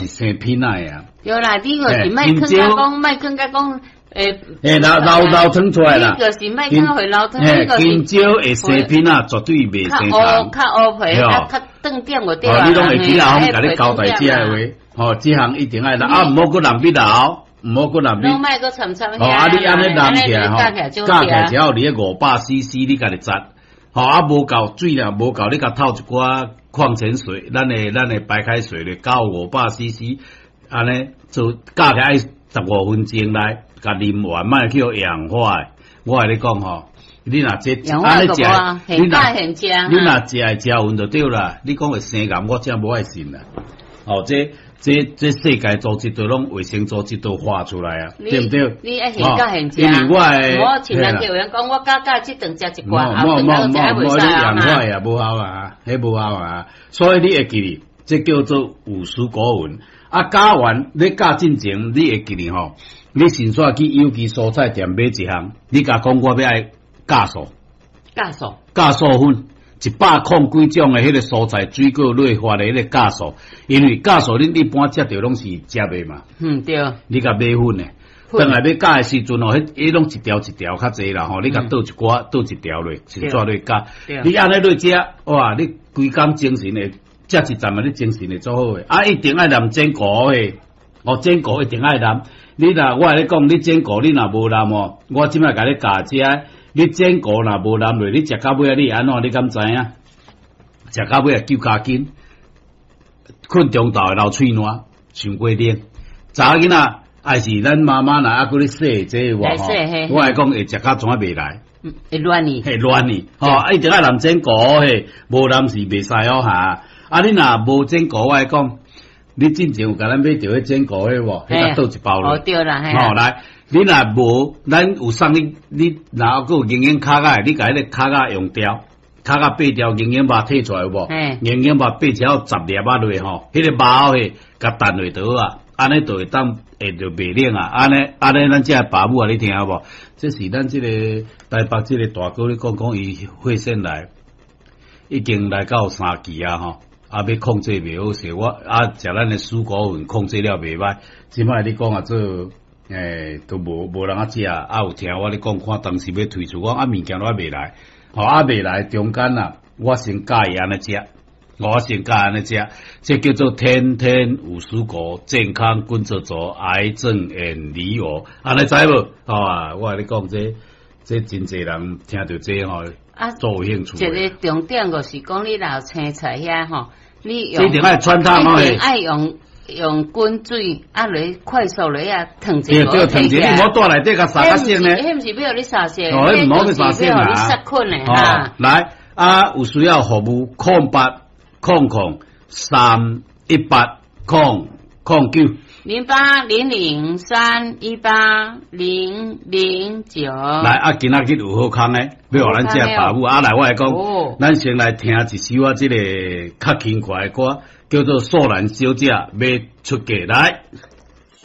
是生品仔的啊。對啦，你就是莫囥甲講，莫囥甲講，欸，欸，流流流湯出來啦。你就是莫囥會流湯，你就是。香蕉會生品仔，絕對袂生蟲。較烏皮，較較斷點就對啊。你攏會記啊？我共你交代這个話，吼，這項一定愛來，啊，毋好閣淋彼流，毋好閣淋彼。攏莫閣摻摻。吼，啊，你按呢淋起來吼，加起來之後，你500 CC，你家己擠。吼，啊，無夠水啦，無夠，你共透一寡礦泉水，咱的白開水咧，加500 CC，按呢做加起來愛15分鐘來，共啉完，莫去予氧化的。我共你講吼，你若這按呢食，你若食會食勻就對啦。你講會生癌，我真無愛信啦。吼，這世界組織都攏衛生組織都畫出來啊，對毋對？你愛現教現食，因為我的，我親人有人講，我加加這頓食一罐，無無無無，你氧化也無效啊，彼無效啊。所以你會記得，這叫做有蔬果粉。啊，教完你教進前，你會記得吼，你先煞去有機蔬菜店買一項，你共講我欲愛酵素，酵素，酵素粉。一百空幾種的彼个蔬菜水果內發的彼个酵素，因為酵素恁一般食著攏是食的嘛。嗯，對。你共買粉的，轉來欲加的時陣哦，彼彼攏一條一條較濟啦吼，你共倒一寡，倒一條落，先煞落加。你按呢落食，哇！你規工精神會食一陣啊，你精神會足好的。啊，一定愛淋煎菇的，哦，煎菇一定愛淋。你若我共你講，你煎菇你若無淋哦，我這擺共你教這。你煎菇若無淋落，你食到尾仔你會按怎？你敢知影？食到尾仔救加緊，睏中晝會流喙瀾，傷過冷。查某囡仔還是咱媽媽若猶閣咧洗這個話吼，我來講會食到怎袂來？會亂去，會亂去。吼，啊，一定愛淋煎菇嘿，無淋是袂使哦哈。啊，你若無煎菇，我來講，你進前有共咱買著彼煎菇彼無？彼個倒一包落。哦，對啦，吼來。你若無，咱有送你，你若猶閣有營養卡仔，你共彼个卡仔用掉，卡仔掰掉，營養肉提出來有無？營養肉掰超10粒仔落吼，彼个肉嘿，共澹落就好啊，按呢就會當會就袂冷啊，按呢按呢，咱這爸母啊，你聽無？這是咱這個台北這個大哥咧講講，伊血腺癌已經來到三期啊吼，啊欲控制袂好勢，我啊食咱的蔬果粉控制了袂䆀，這擺你講啊做。欸，都無人啊食，啊有聽我咧講，看當時欲推出，我啊物件攏猶未來，吼啊未來中間啊，我先教伊按呢食，我先教按呢食，這叫做天天有蔬果，健康滾做做，癌症遠離我，按呢知無？吼啊，我共你講這這真濟人聽著這吼，啊，足有興趣。一个重點就是講，你若有青菜遐吼，你用一定愛汆燙一定愛用。用滾水啊，來快速來啊，燙一下。對對，燙一下，你毋好蹛內底共殺較熟呢。彼毋是欲予你殺熟，哦，彼毋好欲殺熟啊。你殺菌的哈。來啊，有需要服務，0800 031 8009。 0800318009。來啊，今仔日有好康的，欲予咱這爸母啊來，我來講，咱先來聽一首啊，這个較輕快的歌，叫做《素蘭小姐欲出嫁》來。